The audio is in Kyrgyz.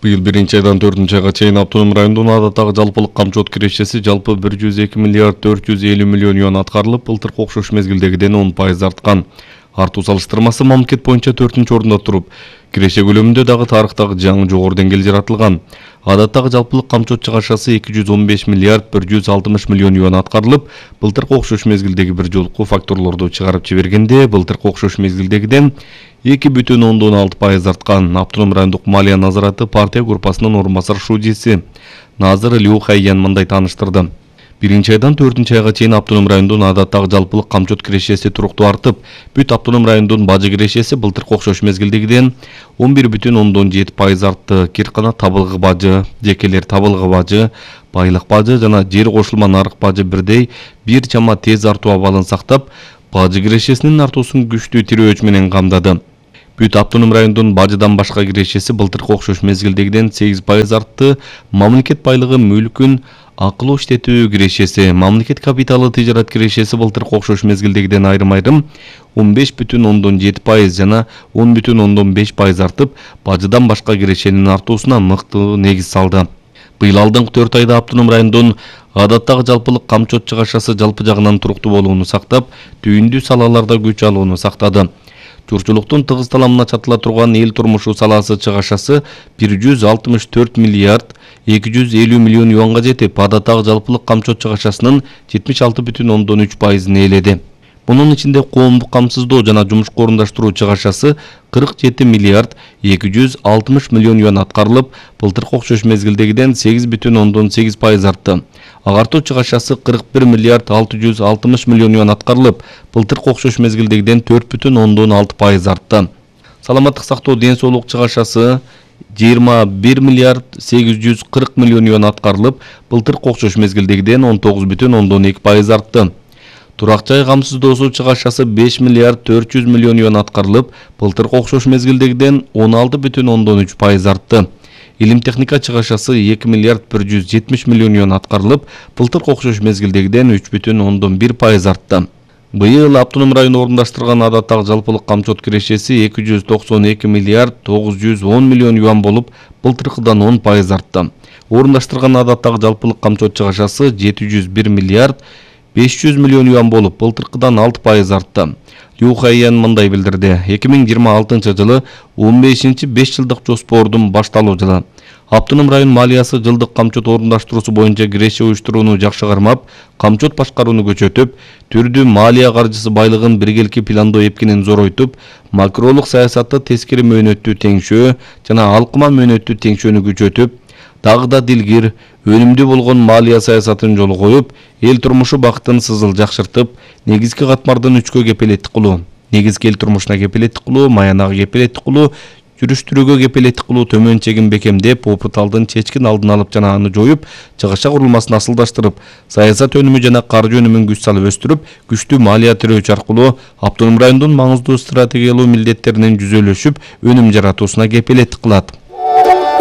Быйыл 1-айдан 4-айга чейин автоном райондун адаттагы жалпылык камчот кирешеси жалпы 102 миллиард 450 миллион юан аткарылып, былтыркы окшош мезгилдегиден 10% арткан. Артуу салыштырмасы мамлекет боюнча 4-орунда туруп, киреше көлөмүндө дагы тарыхтагы жаңы жогору деңгээл жаратылган. Адаттагы жалпылык камчот чыгашасы 215 миллиард 160 миллион юан аткарылып, былтыркы окшош мезгилдеги бир жолку факторлорду чыгарып жибергенде, былтыркы окшош мезгилдегиден 2,6% арткан. Автоном райондук малия назараты партия группасынын орун басар шудиси Назыр Лю Хайян мындай тааныштырды. 1-айдан 4-айга чейин автоном райондун адаттагы жалпылык камчот кирешеси туруктуу артып, бүт автоном райондун бажы кирешеси былтыркы окшош мезгилдегиден 11,7% артты. Киркана табылгы бажы, жекелер табылгы бажы, байлык бажы жана жер кошулма нарык бажы бирдей бир чама тез артуу абалын сактап, бажы кирешесинин артуусун күчтүү тирөөч менен камдады. Бүт автоном райондун бажыдан башка кирешеси былтыркы окшош мезгилдегиден 8% артты. Мамлекет байлыгы мүлкүн акылуу иштетүү кирешеси, мамлекет капиталы тижарат кирешеси былтыркы окшош мезгилдегиден айрым-айрым 15,7% жана 10,5% артып, бажыдан башка кирешенин артуусуна мыкты негиз салды. Быйыл алдыңкы 4 айда автоном райондун адаттагы жалпылык камчот чыгашасы жалпы жагынан туруктуу болууну сактап, түйүндүү салаларда күч алууну сактады. Журчулуктун тыгыз таламына чатыла турган эл турмушу саласы чыгашасы 164 миллиард 250 миллион юанга жетип, адаттагы жалпылык камчот чыгашасынын 76,3%-ын ээледи. Мунун ичинде коомдук камсыздоо жана жумушка орундаштыруу чыгашасы 47 миллиард 260 миллион юан аткарылып, былтыркы окшош мезгилдегиден 8,8% артты. Агартуу чыгашасы 41 миллиард 660 миллион юан аткарылып, былтыркы окшош мезгилдегиден 4,6% артты. Саламаттык сактоо ден соолук чыгашасы 21 миллиард 840 миллион юан аткарылып, былтыркы окшош мезгилдегиден 19,2% артты. Турак жай камсыздоосу чыгашасы 5 миллиард 400 миллион юан аткарылып, былтыркы окшош мезгилдегиден 16,3% артты. Илим техника чыгашасы 2 миллиард 170 миллион юан аткарылып, былтыркы окшош мезгилдегиден 3,1% артты. Быйыл автоном район орундаштырган адаттагы жалпылык камчот кирешеси 292 миллиард 910 миллион юан болуп, былтыркыдан 10% артты. Орундаштырган адаттагы жалпылык камчот чыгашасы 701 миллиард 500 миллион юан болуп, былтыркыдан 6% артты. Лю Хайян мындай билдирди. 2026 жылы 15-5 жылдык жоспордун башталуу жылы. Автоном район малиясы жылдык камчот орундаштыруусу боюнча киреше уюштурууну жакшы кармап, камчот башкарууну көчөтүп, түрдүү малия каржысы байлыгын биргеликки пландоо эпкинин зоройтуп, макролук саясатты тескери мөөнөттүү теңшөө жана алкыма мөөнөттүү теңшөөнү күчөтүп, дагы да дилгир, өнүмдүү болгон малия саясатын жолго коюп, эл турмушу бактын сызыл жакшыртып, негизги катмардын 3кө кепилеттик кылуу, негизги эл турмушуна кепилеттик кылуу, маянага кепилеттик кылуу, жүрүш-түрүүгө кепилеттик кылуу төмөн чегин бекемдеп, опыталдын чечкин алдын алып жана аны жоюп, чыгаша курулмасын асылдаштырып, саясат өнүмү жана каржы өнүмүн күч салып өстүрүп, күчтүү малия тирөөчү аркылуу автоном райондун маңыздуу стратегиялуу милдеттеринин жүзөлөшүп, өнүм жаратуусуна кепилеттик кылат.